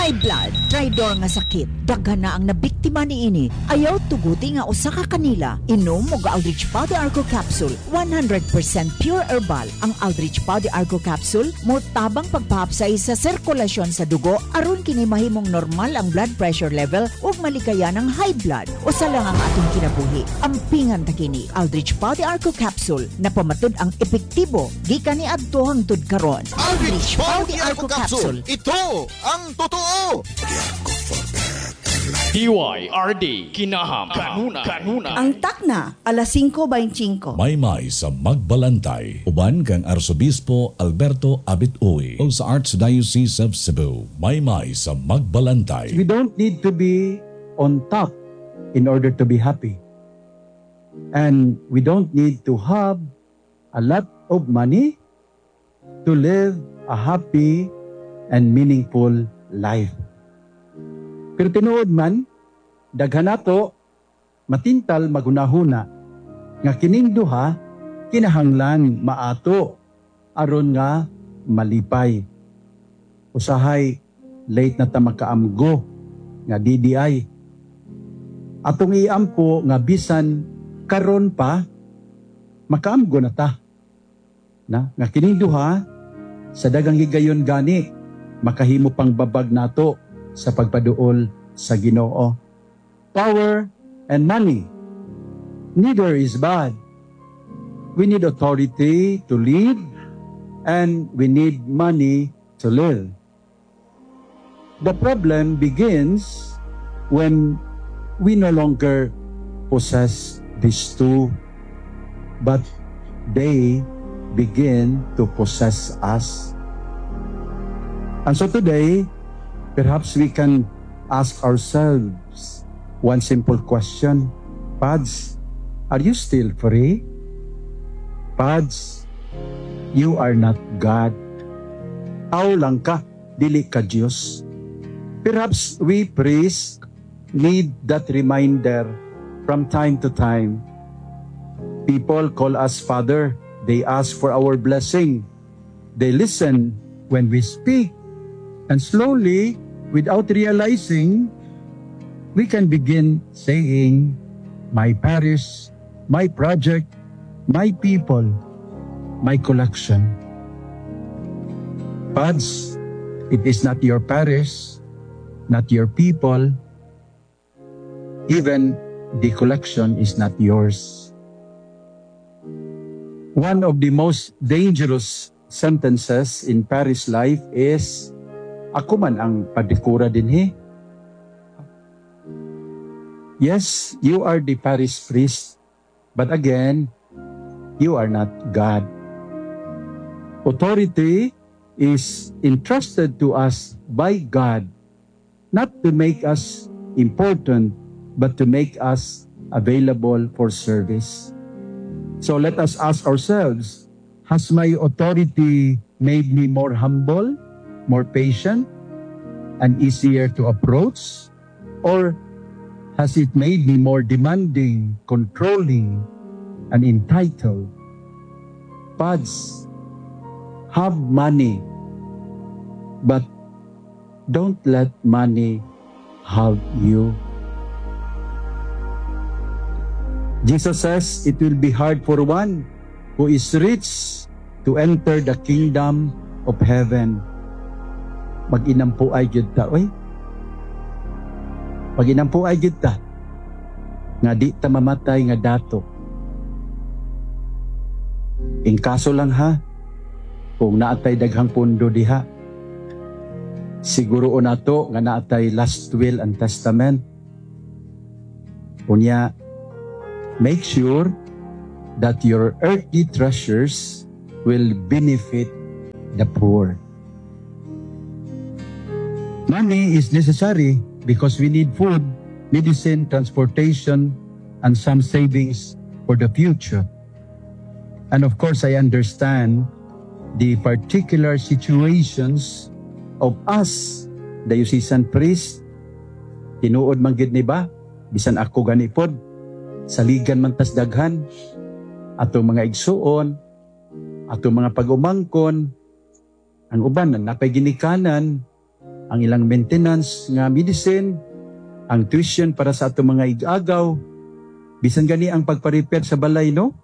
High blood, traidor nga sakit. Daghan na ang nabiktima niini. Ayaw tuguti nga usa ka kanila. Inom og Aldrich Pau de Arco Capsule, 100% pure herbal. Ang Aldrich Pau de Arco Capsule mo tabang pagpahapsay sa sirkulasyon sa dugo aron kini mahimong normal ang blood pressure level ug malikayan ang high blood. Usa lang ang atong kinabuhi. Ampingan ta kini. Aldrich Pau de Arco Capsule napamatud ang epektibo gikan niadto hangtod karon. Aldrich Pau de Arco Capsule. Ito ang totoo. DYRD Kinaham Kanuna Kanuna. Ang takna, alas 5:25. Maymay sa Magbalantay. Uban kang Arsobispo Alberto Abit Uy o sa Archdiocese of Cebu. Maymay sa Magbalantay. We don't need to be on top in order to be happy. And we don't need to have a lot of money to live a happy and meaningful life. Pero tinuod man, daghan nato matintal magunahuna nga kining duha kinahanglan maato aron nga malipay. Usahay late na ta makaamgo nga DDI. Atong iampo nga bisan karon pa makaamgo na ta. Na nga kining duha sa dagang higayon gani makahimo pang babag nato sa pagpaduol sa Ginoo. Power and money, neither is bad. We need authority to lead and we need money to live. The problem begins when we no longer possess these two, but they begin to possess us. And so today, perhaps we can ask ourselves one simple question. Pads, are you still free? Pads, you are not God. Tao lang ka, dili ka Diyos. Perhaps we priests need that reminder from time to time. People call us Father. They ask for our blessing. They listen when we speak. And slowly, without realizing, we can begin saying, "My parish, my project, my people, my collection." Pads, it is not your parish, not your people, even the collection is not yours. One of the most dangerous sentences in parish life is, "Ako man ang padre kura dinhi." Yes, you are the parish priest, but again, you are not God. Authority is entrusted to us by God, not to make us important, but to make us available for service. So let us ask ourselves, has my authority made me more humble, more patient, and easier to approach? Or has it made me more demanding, controlling, and entitled? Pads, have money, but don't let money have you. Jesus says it will be hard for one who is rich to enter the kingdom of heaven. Mag-inampo ay gyud ta, oy. Mag-inampo ay gyud ta nga di ta mamatay nga dato. In kaso lang ha, kung naatay daghang pundo diha, siguro nato nga naatay last will and testament. Unya, make sure that your earthly treasures will benefit the poor. Money is necessary because we need food, medicine, transportation, and some savings for the future. And of course, I understand the particular situations of us, diocesan priest. Tinuod man gid ni ba? Bisan ako gani pod, saligan man tas daghan, atong mga igsuon, atong mga pag-umangkon, ang uban na napay ginikanan. ang ilang maintenance nga medicine, ang tuition para sa atong mga igagaw, bisan gani ang pagpa-repair sa balay, no?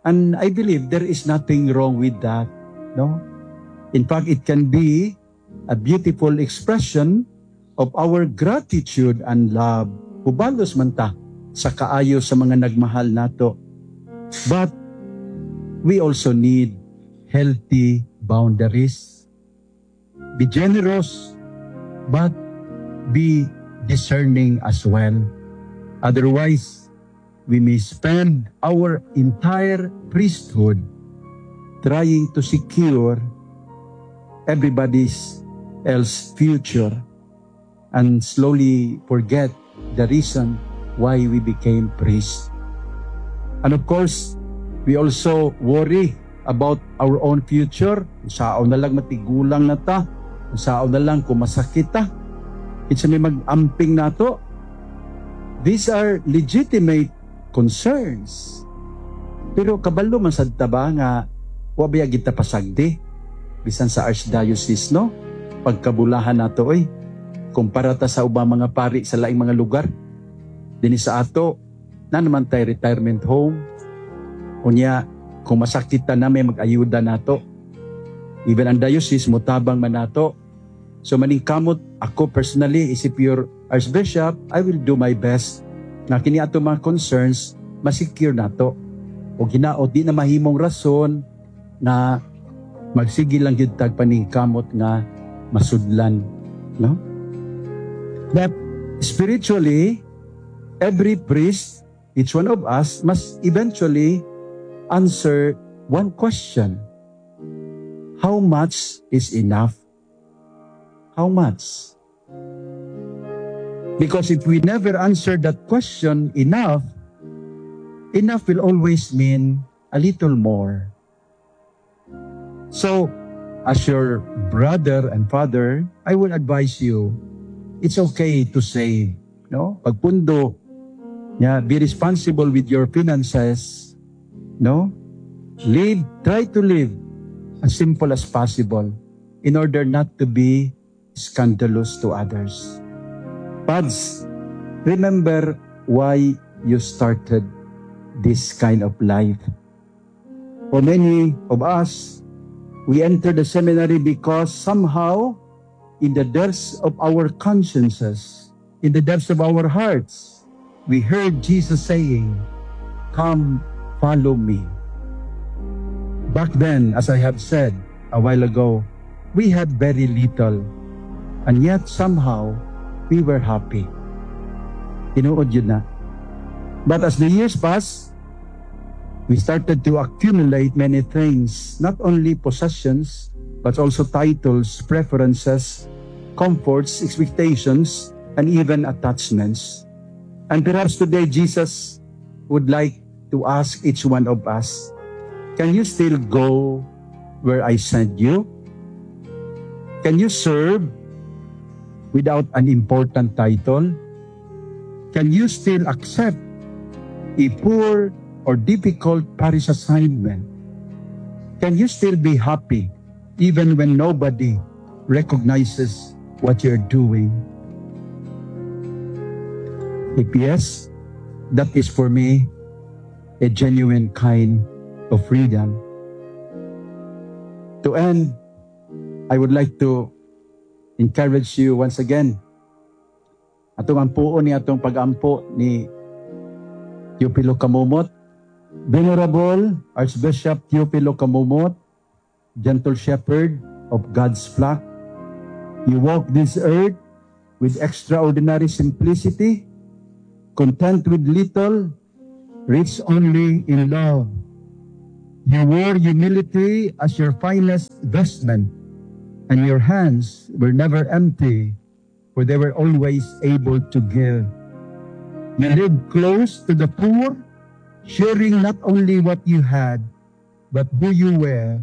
And I believe there is nothing wrong with that, no? In fact, it can be a beautiful expression of our gratitude and love. Hubalos man ta sa kaayo sa mga nagmahal nato. But we also need healthy boundaries. Be generous, but be discerning as well. Otherwise, we may spend our entire priesthood trying to secure everybody's else future and slowly forget the reason why we became priests. And of course, we also worry about our own future. Unsaon na lang matigulang na ta. Unsaon na lang kung masakit ta. Kinsa may mag-amping nato. These are legitimate concerns. Pero kabalo man sad ta ba nga wa biya kita pasagdi bisan sa archdiocese, no? Pagkabulahan nato oy, kumpara ta sa ubang mga pari sa laing mga lugar dinhi sa ato, na naman tay retirement home. Unya kung masakit ta na, may mag-ayuda nato. Even ang diocese motabang man nato. So maningkamot ako personally, isip your archbishop, I will do my best nga kini ato mga concerns masecure nato. O hinaot di na mahimong rason na magsige lang gyud tag paningkamot nga masudlan, no? That spiritually, every priest, each one of us must eventually answer one question: How much is enough? How much? Because if we never answer that question, enough, enough will always mean a little more. So, as your brother and father, I will advise you, it's okay to save, no? Pagpundo, yeah, be responsible with your finances, no? Live, try to live as simple as possible in order not to be scandalous to others. Pads, remember why you started this kind of life. For many of us, we entered the seminary because somehow, in the depths of our consciences, in the depths of our hearts, we heard Jesus saying, "Come, follow me." Back then, as I have said a while ago, we had very little, and yet somehow, we were happy. Tinuod gyud na. But as the years passed, we started to accumulate many things, not only possessions, but also titles, preferences, comforts, expectations, and even attachments. And perhaps today, Jesus would like to ask each one of us, "Can you still go where I sent you? Can you serve without an important title? Can you still accept a poor or difficult parish assignment? Can you still be happy even when nobody recognizes what you're doing?" If yes, that is for me a genuine kind of freedom. To end, I would like to encourage you once again. Atong ampuon ni atong pag-ampo ni Teofilo Camomot. Venerable Archbishop Teofilo Camomot, gentle shepherd of God's flock, you walk this earth with extraordinary simplicity, content with little, rich only in love. You wore humility as your finest vestment, and your hands were never empty, for they were always able to give. You lived close to the poor, sharing not only what you had, but who you were,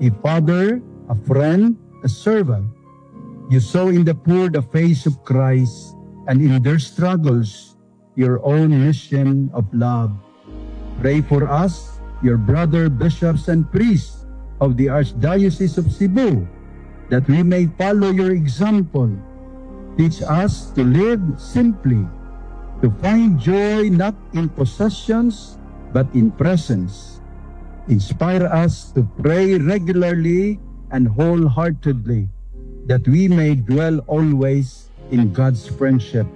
a father, a friend, a servant. You saw in the poor the face of Christ, and in their struggles, your own mission of love. Pray for us, your brother bishops and priests of the Archdiocese of Cebu, that we may follow your example. Teach us to live simply, to find joy not in possessions, but in presence. Inspire us to pray regularly and wholeheartedly, that we may dwell always in God's friendship.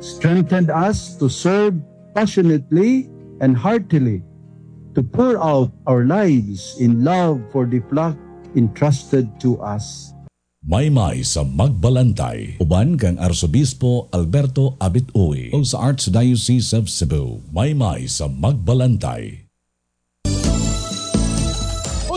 Strengthen us to serve passionately and heartily, to pour out our lives in love for the flock entrusted to us. Maymay sa Magbalantay. Uban kang Arsobispo Alberto Abit Uy o sa Archdiocese of Cebu. Maymay sa Magbalantay.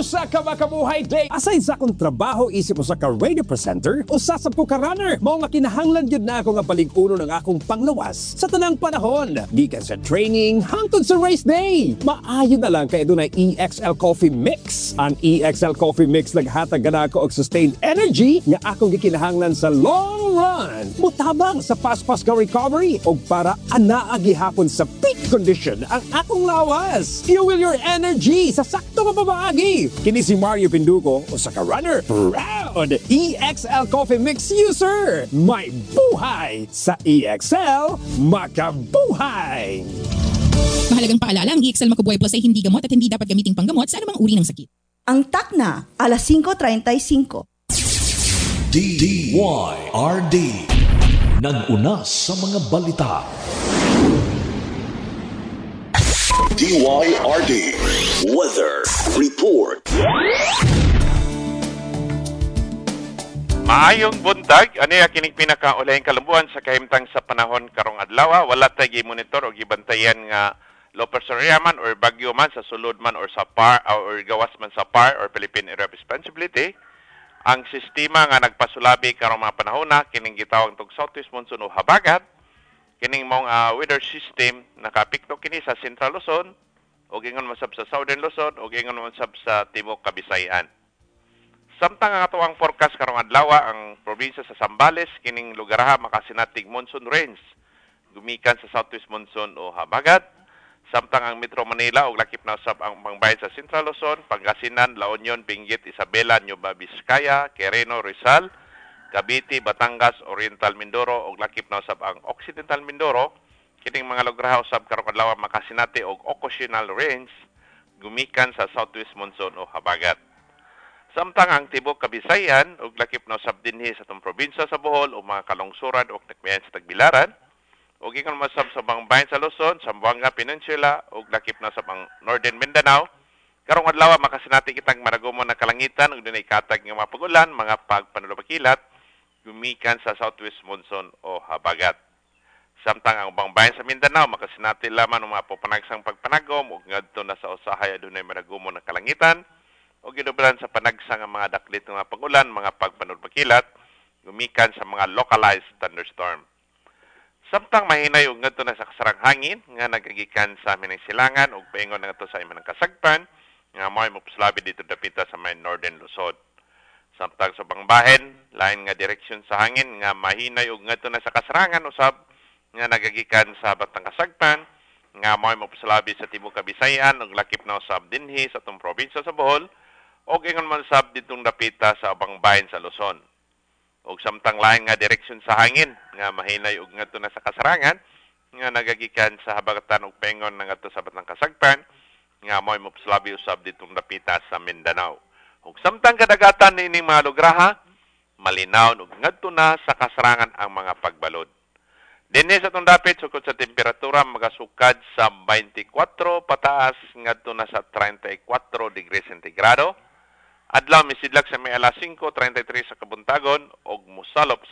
Usa ka makabuhay day. Aside sa akong trabaho isip usa ka radio presenter, usa sab ko ka runner. Mao nga kinahanglan gyud na ako nga palig-uno ng akong panglawas sa tanang panahon. Gikan sa training hangtod sa race day. Maayo na lang kay adunay EXL Coffee Mix. Ang EXL Coffee Mix naghatag kanako og sustained energy nga akong gikinahanglan sa long run. Mutabang sa paspas ka recovery og para anaa gihapon sa peak condition ang akong lawas. Fuel your energy sa sakto nga pamaagi. Kini si Mario Pinduko, usa ka runner. Proud EXL Coffee Mix user. May buhay sa EXL, makabuhay! Mahalagang paalala, ang EXL Makabuhay Plus ay hindi gamot at hindi dapat gamiting panggamot sa anumang uri ng sakit. Ang takna, alas 5:35. DYRD. Nag-una sa mga balita. DYRD Weather Report. Maayong buntag, ani kining pinakaulahing kalambuan sa kahimtang sa panahon karong adlaw. Wala tay gi-monitor o gibantayan nga low pressure area man or bagyo man sa sulod man or sa PAR or gawas man sa PAR or Philippine Area of Responsibility. Ang sistema nga nagpasulabi karong mga panahon na kining gitawag tog Southwest Monsoon o habagat, kining mong weather system nakapikto kini sa Central Luzon o ingon man sab sa Southern Luzon o ingon man sab sa Timog Kabisayan. Samtang ang atoang forecast karong adlaw, ang probinsya sa Zambales kining lugar ha makasinatig monsoon rains gumikan sa Southwest Monsoon o habagat. Samtang ang Metro Manila ug lakip na usab ang pangbayan sa Central Luzon, Pangasinan, La Union, Benguet, Isabela, Nueva Vizcaya, Quirino, Rizal, Cavite, Batangas, Oriental Mindoro ug lakip na usab ang Occidental Mindoro, kining mga lugar ha usab karong adlaw makasinati og occasional rains gumikan sa Southwest Monsoon o habagat. Samtang ang Tibok Kabisayan ug lakip na usab dinhi sa atong probinsya sa Bohol o mga kalungsuran ug nakmiyan sa Tagbilaran ug ingon masab sa bangbayan sa Luzon, Zamboanga Peninsula ug lakip na sa ang Northern Mindanao, karong adlaw makasinati kitang maragumo na kalangitan ug dunay katag nga mga pag-ulan, mga pagpanulopakilat gumikan sa Southwest Monsoon o habagat. Samtang ang ubang bayan sa Mindanao makasinati lamang og mga panagsang pagpanagom ug ngadto na sa usahay adunay maragumo na kalangitan o gidubalan sa panagsang ang mga daklit ng mga pag-ulan, mga pagpanulpakilat, gumikan sa mga localized thunderstorm. Samtang mahinay og ngadto na sa kasarang hangin nga nagagikan sa aming silangan ug paingon ngadto sa imong kasagpan nga mo'y mopuslabi dito dapita sa may Northern Luzon. Samtang sa bangbahen, lain nga direksyon sa hangin nga mahinay og ngadto na sa kasarangan usab nga nagagikan sa Batang Kasagpan nga mo'y mopuslabi sa Tibok Kabisayan ug lakip na usab dinhi sa atong probinsya sa Bohol og ingon man sab ditong dapita sa ubang bahin sa Luzon. Og samtang lain nga direksyon sa hangin nga mahinay og ngadto na sa kasarangan nga nagagikan sa habagatan ug pengon ngadto sa Batang Kasagpan nga mo'y mopuslabi usab ditong dapita sa Mindanao. Ug samtang kadagatan niining mga lugraha, malinaw ug ngadto na sa kasarangan ang mga pagbalod. Dinhi sa atong dapit sukod sa temperatura magasukad sa 24 pataas ngadto na sa 34 degrees sentigrado. Adlaw misidlak sa may alas 5:33 sa kabuntagon og mosalop sa